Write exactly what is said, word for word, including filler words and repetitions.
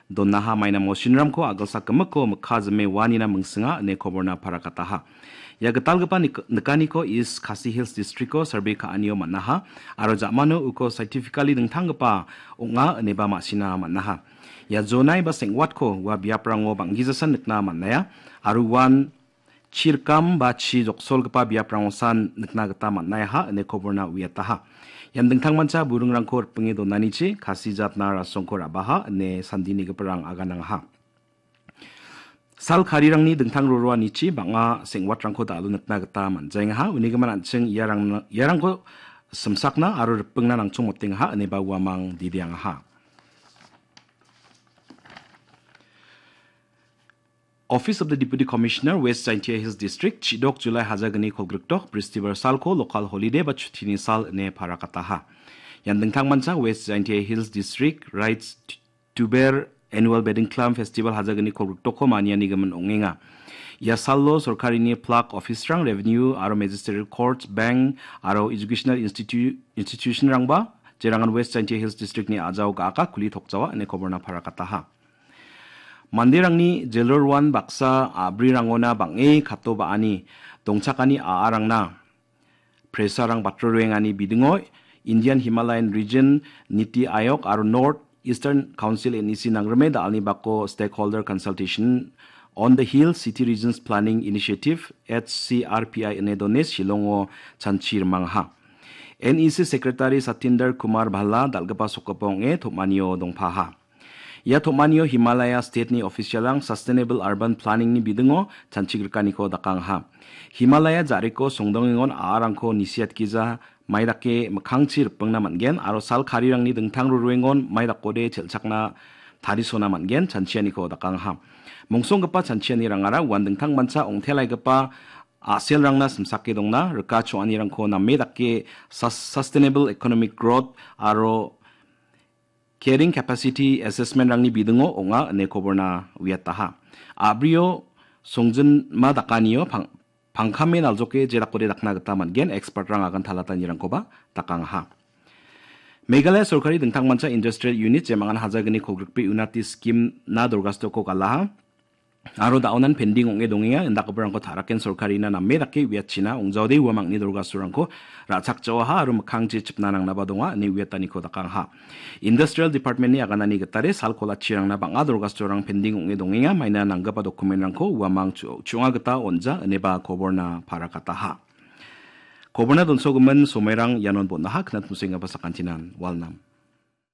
donaha, maina mosinramko agilsak gimikko mikka jime uanina mingsinga ine koborna parakataha. Ia gitalgipa nik-, nikaniko East Khasi Hills Districtko survey ka·anio man·aha aro ja·mano uko scientifically dingtanggipa ong·a ineba ma·sina man·aha. Ia jonai ba seng·watko ua biaprango bang·gijasan nikna man·aia aro uan chirkam ba chi joksolgipa biaprangosan nikna gita man·aiaha ine koborna uiataha. Ian dingtangmancha buringrangko ripinge donanichi Khasi jatna rasongko ra·baha ine sandinigiparang aganangaha. Sal karirangni dingtang roroanichi bang·a seng·watrangko da·alo nikna gita man·jaengaha. Unigimin an·ching iarang-, iarangko simsakna aro ripingna nangchongmotengaha ineba uamang dideangaha. Office of the Deputy Commissioner, West Jaintia Hills District, chidok July haja gni kolgrikdok, Bristibar salko local holiday ba chutini sal ine parakataha. Ian dingtangmancha West Jaintia Hills District Rights Tuber Annual Bedingklam Festival haja gni kolgrikdokko maniani gimin ong·enga. Ia salo sorkarini plak officerang, revenue aro magisterial courts, bank aro educational institu-, institutionrangba, jerangan West Jaintia Hills Districtni a·jao ga·aka kuli tokjawa ine koborna parakataha. Manderangni jelroruan baksa a·brirangona bang·e kato ba·ani dongchakani a·arangna presarang batroruengani bidingo Indian Himalayan Region Niti Aayog aro North Eastern Council, N E C, nangrime da·alni bako Stakeholder Consultation on the Hill City Regions Planning Initiative, H C R P I, ine done Shillongo chanchi rimangaha. N E C Secretary Satinder Kumar Bhalla dal·gipa sokgipa ong·e tom·anio dongpaha. Ia tom·anio Himalaya State-ni official-rang Sustainable Urban Planning-ni bidingo chanchigrikaniko dakangaha. Himalaya ja·riko songdongengon a·arangko nisiatgija mai dake mikkangchi ripingna man·gen aro sal karirangni dingtang ruruengon mai dakode chelchakna tarisona man·gen chanchianiko dakangaha. Mongsonggipa chanchianirangara uan dingtangmancha ong·telaigipa a·selrangna simsake dongna rika choanirangko name dake sus-, Sustainable Economic Growth aro Carrying Capacity Assessment-rangni bidingo ong·a ine koborna uiataha. A·brio songjinma dakanio pang-, pangkame naljoke jedakode dakna gita man·gen, expert-rang agan talatanirangkoba dakangaha. Meghalaya sorkari dingtangmancha industrial unit jemangan haja gni kolgrikbe Unati scheme-na dorgastoko galaha. Aro da·onan pending ong·e dongenga, indakgiparangko ta·raken sorkarina name dake uiatchina ong·jaode ua mangni dorgastorangko ra·chakjaoaha aro mikkangchi chipna nangnaba donga ine uiataniko dakangaha. Industrial Department-ni aganani gitade sal kolachirangna bang·a dorgastorang pending ong·e dongenga, maina nanggipa document-rangko uamang chu-, chu·onga gita on·ja ineba koborna parakataha. Koborna donsogimin somairang ianon bon·aha, knatmusenggipa sakantinan walnam.